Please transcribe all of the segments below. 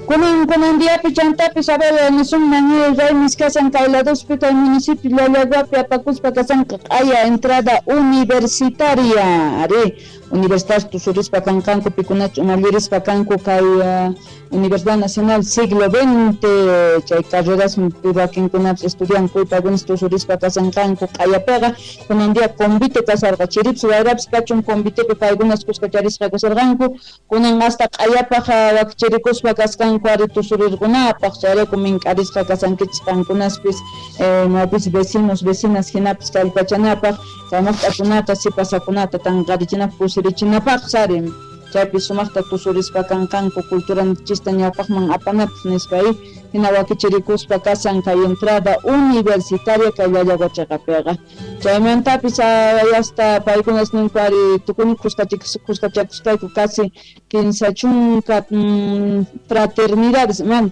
Kunan diapi chantapis a ver nisunman raymis kasan kay ladospi kay municipio Llallaguapi apakuspa kasanqa q'aya entrada universitaria ari universidad tusurispa kanqanku pikunachu umallirispa kanku kay Universidad Nacional Siglo XX chay carreras wakinkunapis estudianku paykunas tusurispa kasanqanku q'ayapiqa kunan día convite kasarqa chiripis wayrapis kachun convitepi paykunas kuskacharisqa kasarqanku kunan hasta q'ayapaq wakichirikuspa kasqanku ari tusurirqunapaq chayrayku mink'arisqa kasankichis qankunaspis mapis vecinos vecinas hinapis kallpachanapaq kay maqt'akunata sipasakunata tanqarichinapaq kusirichinapaq sari chaypi sumaqta tusurispa kanqanku culturanchista ñawpaqman apanapaq nispa hina wakichirikuspa kasan kay entrada universitaria kay Llallagua chiqapiqa chaymantapis hasta paykunas ninku ari tukuni kuskachakuspayku casi 30 fraternidades man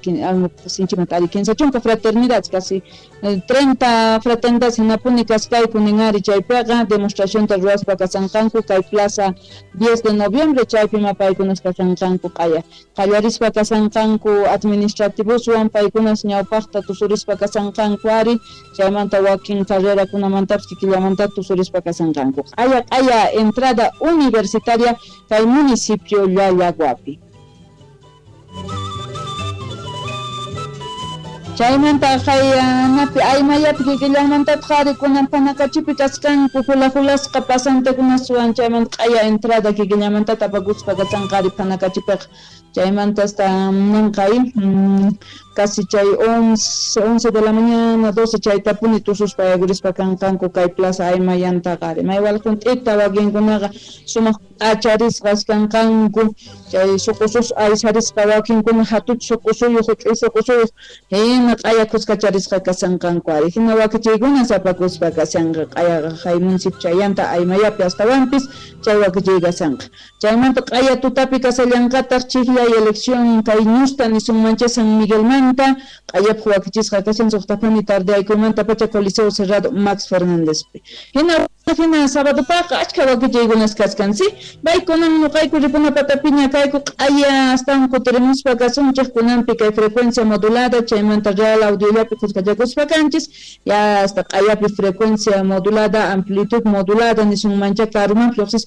sinchimanta ari 30 fraternidades casi 30 fraternidades hinapuni kaskayku ninari chaypiqa demostracionta ruwaspa kasanqanku kay plaza 10 de noviembre chaypi ma paykunas kasanqanku q'aya qallarispa kasanqanku administrativoswan paykunas ñawpaqta tusurispa kasanqanku ari chaymanta wakin carrerakunamantapis kikillamanta tusurispa kasanqanku q'aya q'aya entrada universitaria kay municipio Llallaguapi. Chaymanta qayanapi aymayapi kikillanmantataq ari kunan Panakachipi kasqanku hula-hulasqa pasantekunaswan chaymanta q'aya entrada kikillamanta tapakuspa kasanqa ari Panakachipiqa chaymanta hasta ninqay casi chay 11 de la mañana 12 chaytapuni tususpa yakurispa kanqanku kay plaza aymayantaqa ari maywal hunt'ita wakinkunaqa sumaq p'acharisqas kanqanku chay suqusus aysarisqa wakinkuna hatuch suqusuyuq huch'uy suqusuyuq hina q'aya kuskacharisqa kasanqanku ari hina wakichiykuna sapakuspa kasanqa q'ayaqa hay municipio chayanta aymayapi astawanpis chay wakichiy kasanqa chaymanta q'aya tutapi kasallanqataq chikllay elección kay ñusta nisunmancha San Miguelmanta q'ayapaq wakichisqa kashan suqtapuni tardeaykuymanta pacha Coliseo Cerrado Max Fernándezpi hina hina sábadopaqa achka wakichiykunas kaskan si paykunan nuqayku ripuna patapiña kayku q'aya astawan kutirimuspa kasunchik kunanpi kay frecuencia modulada chaymanta real audiollapi kuskachakuspa kanchis ya hasta q'ayapi frecuencia modulada amplitud modulada nisunmancha karuman lluqsispa.